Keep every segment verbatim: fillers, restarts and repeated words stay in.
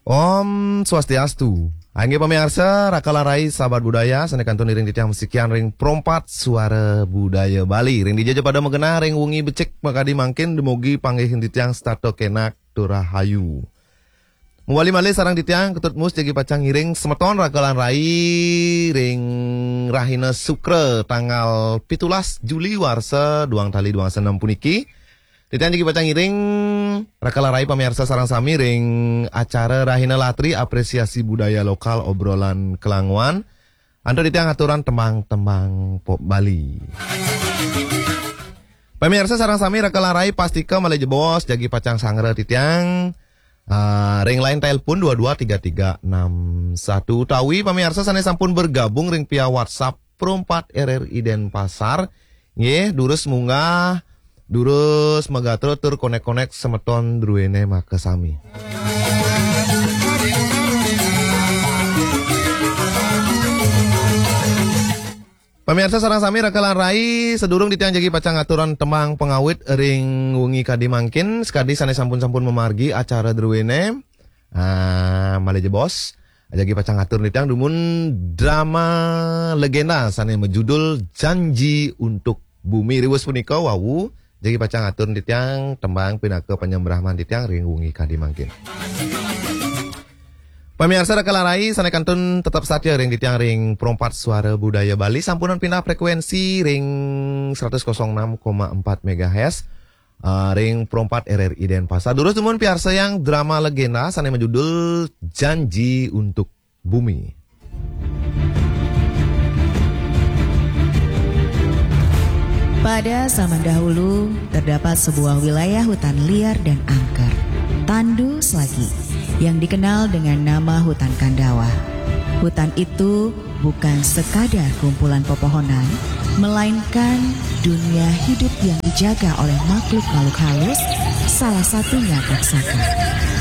Om Swastiastu. Inggih pamiarsa, raka lan rai sahabat budaya, sané kantun iring titiang masikian ring Pro empat Suara Budaya Bali. Ring dija ja pada magenah ring wengi becik makadi mangkin, dumugi panggih titiang setata kenak tur rahayu. Mawali malih sareng titiang, Ketut Mus jagi pacang ngiring semeton raka lan rai ring rahina Sukra tanggal pitulas Juli warsa duang tali duang dasa nem puniki. Titiang jagi pacang ngiring raka lan rai pamiarsa sareng sami ring acara Rahina Latri Apresiasi Budaya Lokal Obrolan Kelanguan. Antuk titiang aturang tembang-tembang pop Bali. Pamiarsa sareng sami raka lan rai pastika malih jebos jagi pacang sangra titiang. Ah, ring line telepon dua dua tiga tiga enam satu utawi pamiarsa sané sampun bergabung ring via WhatsApp Pro empat R R I Denpasar. Nggih, durus munggah, durus magatra tur konek-konek semeton druéné makasami. Pamiarsa sareng sami raka lan rai, sadurung titiang jagi pacang aturang tembang pangawit ring wengi kadi mangkin, sakadi sané sampun-sampun mamargi acara druéné. Ah, malih jebos. Jagi pacang atur titiang dumun drama legenda sané majudul Janji untuk Bumi. Riwus punika wau jagi pacang atur titiang tembang pinaka panyembrahman titiang ring wengi kadi mangkin. Pamiarsa raka lan rai sané kantun tetep satia ring titiang ring Pro empat Suara Budaya Bali, sampunang pindah frekuensi ring seratus kosong enam koma empat megahertz. Ah, ring Pro empat R R I Denpasar. Durus dumun piarsayang drama legenda sané majudul Janji untuk Bumi. Pada zaman dahulu, terdapat sebuah wilayah hutan liar dan angker, Tandu Selagi, yang dikenal dengan nama hutan Kandawa. Hutan itu bukan sekadar kumpulan pepohonan, melainkan dunia hidup yang dijaga oleh makhluk-makhluk halus, salah satunya raksasa,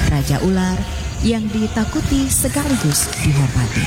raja ular yang ditakuti sekaligus dihormati.